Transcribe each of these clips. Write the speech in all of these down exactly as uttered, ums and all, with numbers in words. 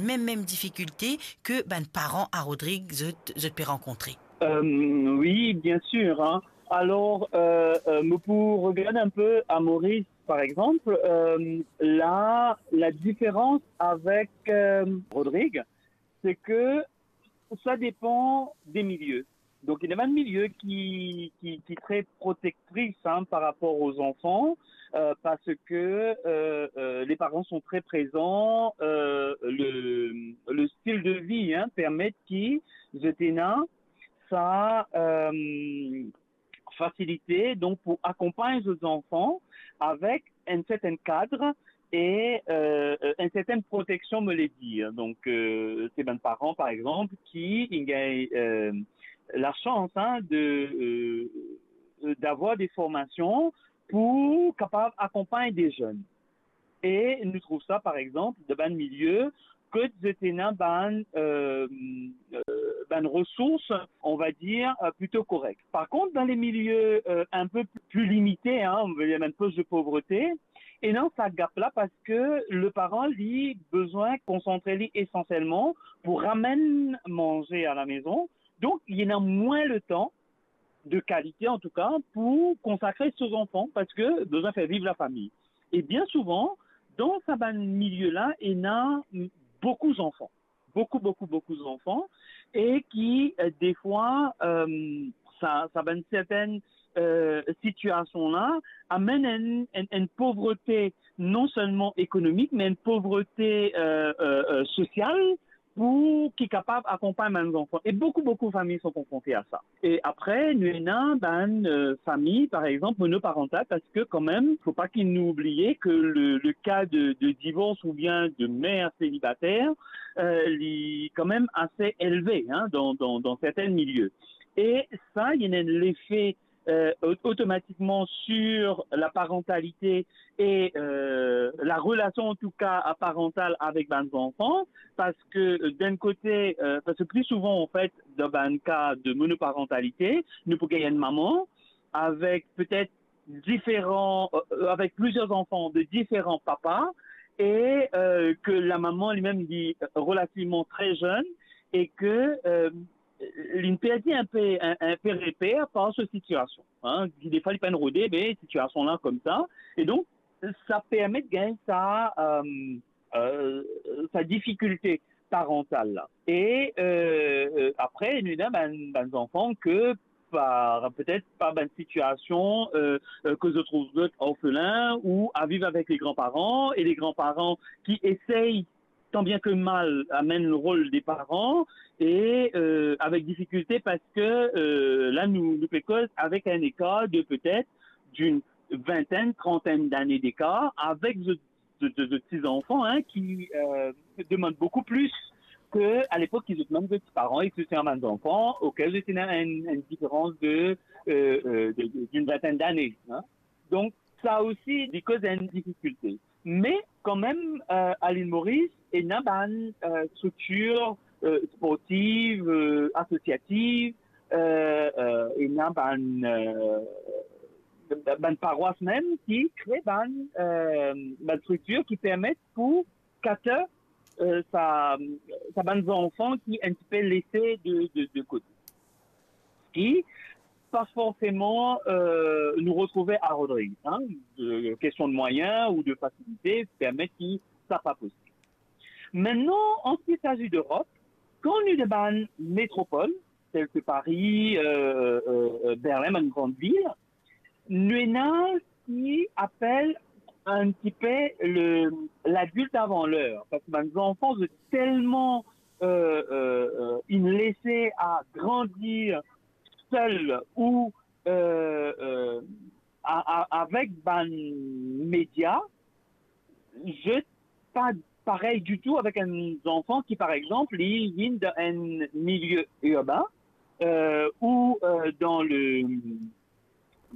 mem, mem difikilte ke bann paran a Rodrig zot, zot pe rankontre? Euh, oui, bien sûr, hein. Alors, euh, euh, mo pou regard un peu à Maurice, par exemple, euh, la, la différence avec euh, Rodrigue, c'est que ça dépend des milieux. Donc, il y a un milieu qui, qui, qui est très protectrice, hein, par rapport aux enfants, euh, parce que euh, euh, les parents sont très présents, euh, le, le style de vie, hein, permet ki zot ena sa euh, facilité, donc, pour accompagner les enfants avec un certain cadre et euh, euh, une certaine protection, me le dire. Donc, euh, c'est bann paran, par exemple, qui ont euh, la chance, hein, de euh, d'avoir des formations pour capable accompagner des jeunes. E nou trouv sa, par exemple, dan bann milie kot zot ena bann euh, euh, bann resours, on va dire, euh, plutôt correct. Par contre, dans les milieux euh, un peu plus limités, hein, on va dire même poche de pauvreté, ena sa gap la, parce que le parent li besoin concentrer li essentiellement pour ramener manger à la maison. Donc, il y a moins le temps de qualité, en tout cas, pour consacrer ses enfants, parce que besoin faire vivre la famille. Et bien souvent, dans sa bann milieu la, ena beaucoup d'enfants, beaucoup, beaucoup, beaucoup d'enfants, et qui, euh, des fois, euh, sa, sa bann certaines euh, situation la amenn une, une, une pauvreté non seulement économique, mais une pauvreté euh, euh, euh, sociale pour qui capable accompagner bann enfants. Et beaucoup, beaucoup de familles sont confrontées à ça. Et après, nou ena bann euh, famille, par exemple, monoparentale, parce que quand même, faut pas qu'il nous oublie que le, le cas de, de divorce ou bien de mère célibataire, euh, il est quand même assez élevé, hein, dans, dans, dans certains milieux. E sa, il y a un effet euh, automatiquement sur la parentalité et euh, la relation, en tout cas, parentale avec bann enfants, parce que euh, d'un côté, euh, parce que plus souvent, en fait, dans un cas de monoparentalité, nou pou gagn une maman avec peut-être différents, euh, avec plusieurs enfants de différents papas, et euh, que la maman elle-même est relativement très jeune, et que euh, li perdi un peu, un, un peu repère par sa situation. Hein. Des fois, il peut rôder, mais situation là comme ça. Et donc, ça permet de gagner sa, euh, euh, sa difficulté parentale là. Et euh, euh, après, nous avons des enfants que par peut-être par une situation euh, euh, que se trouvent orphelins ou à vivre avec les grands-parents, et les grands-parents qui essayent tant bien que mal amenn le rôle des parents et euh, avec difficulté parce que euh, là nous nous koz avec un écart de peut-être d'une vingtaine, trentaine d'années d'écart avec de, de, de, de petits enfants hein, qui euh, demandent beaucoup plus que à l'époque qu'ils étaient même petits parents et que c'était un enfant auquel c'était une, une différence de, euh, euh, de, de- d'une vingtaine d'années. Hein. Donc ça aussi, il cause une difficulté. Mais quand même, euh, à l'île Maurice, il y a une euh, structure euh, sportive, euh, associative, euh, euh, il y a une euh, bann paroisse même qui crée bann, euh, bann structure qui permettent pour quatre euh, sa, sa bann enfants qui un petit peu laissés de, de, de côté. Qui pas forcément euh, nous retrouver à Rodrigues. Hein, de, question de moyens ou de facilité permet que ça pas possible. Maintenant, en ce qui s'agit d'Europe, quand on est dans une métropole, telle que Paris, euh, euh, Berlin, une grande ville, nou ena ki apel un petit peu le l'adulte avant l'heure, parce que bann enfants sont tellement euh, euh, euh, laissés à grandir seuls ou euh, euh, à, à, avec bann média, je pas pareil du tout avec un enfant qui, par exemple, il vient d'un milieu urbain euh, ou euh, dans le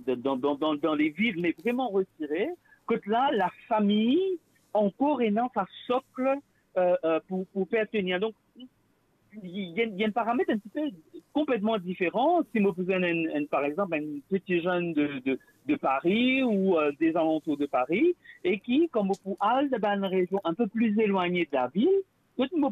dans, dans, dans, dans les villes, mais vraiment retiré, que là, la famille encore est dans sa socle euh, euh, pour, pour faire tenir. Donc, il y, a, il y a un paramètre un petit peu complètement différent. Si vous prenez, un, un, par exemple, un petit jeune de, de, de Paris ou euh, des alentours de Paris, et qui, comme vous pouvez aller dans une région un peu plus éloignée de la ville, tout le monde